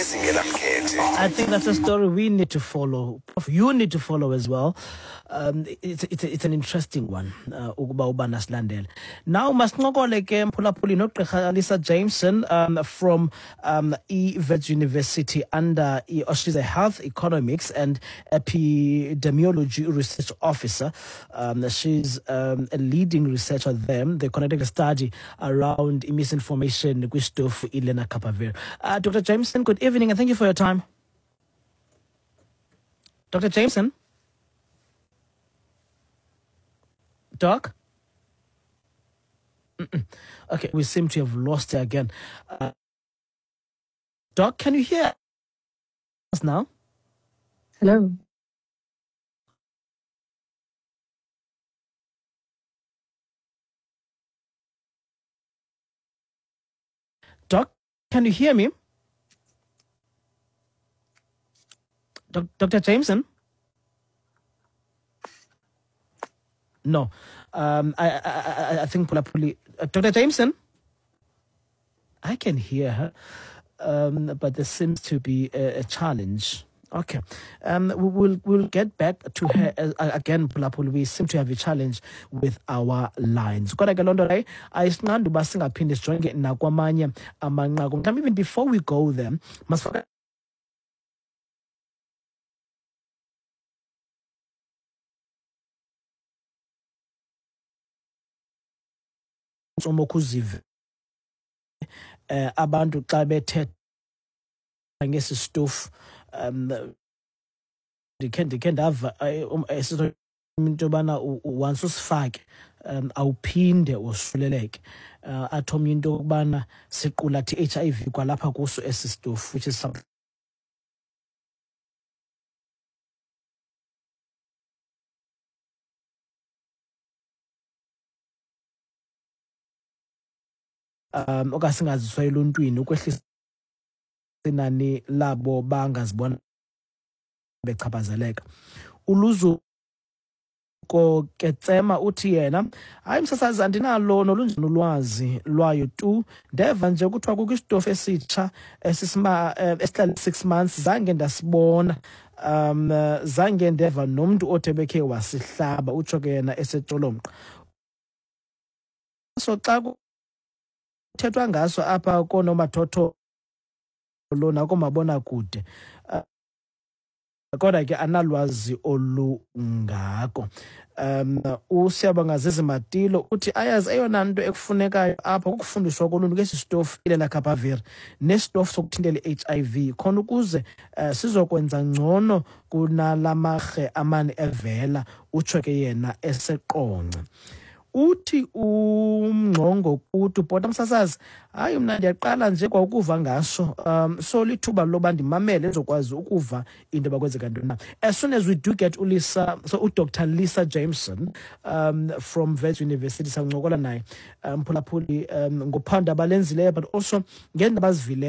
Ezingenamkhethe. I think that's a story we need to follow. You need to follow as well. It's an interesting one ukuba ubana silandele. Now masincokole ke, mphulaphuli, noGqirha Lisa Jameson from iWits University under oh, she's a health economics and epidemiology research officer. She's a leading researcher there. They conducted a study around misinformation kwisitofu iLenacapavir. Dr. Jameson, good evening and thank you for your time. Dr. Jameson? Doc? Okay, we seem to have lost her again. Doc, can you hear us now? Hello. Doc, can you hear me? Dr. Jameson? No. I think mphulaphuli. Dr. Jameson? I can hear her, but there seems to be a challenge. Okay. We'll get back to her again, mphulaphuli. We seem to have a challenge with our lines. Kodwa ke loo nto leyo ayisinqandi uba singaphinde sijonge nakwamanye amanqaku. Mhlawumbi even before we go there, masifake ntsomo kuzive abantu xa bethetha ngesi stofu. Ndikhe ndava esithi into yobana once usifake awuphinde wosuleleke. Athi omnye into yokubana siqulathe i-HIV kwalapha kuso esi stofu, which is something okanye singaziswa eluntwini ukwehlisa inani labo bangazibona bechaphazeleka. Uluzuko Ketsema uthi yena, "Hayi msasazi, andinalo nolunjani ulwazi lwayo tu. Ndeva nje kuthiwa kukho isitofu esitsha esihlala 6 months. Zange ndasibona, zange ndeva nomntu othe bekhe wasihlaba." Utsho ke yena eseTsholomqa. So xa kuthethwa ngaso apha koonomathotholo nakoomabonakude, kodwa ke analwazi olungako. USiyabonga Zizi Matilo uthi ayazi eyona nto ekufunekayo apha kukufundiswa koluntu ngesi sitofu iLenacapavir nesitofu sokuthintela i-HIV, khona ukuze sizokwenza ngcono kunala marhe amane evela. Utsho ke yena eseQonce. Uthi uMngxongo kuthi, "Bhota msasazi, hayi mna ndiyaqala nje kwaukuva ngaso, so lithuba loba ndimamele ndizokwazi ukuva into yoba kwenzeka ntoni na." As soon as we do get uLisa, so uDr Lisa Jameson from Wits University, sawuncokola naye, mphulaphuli, ngophando abalenzileyo but also ngeendaba azivileyo.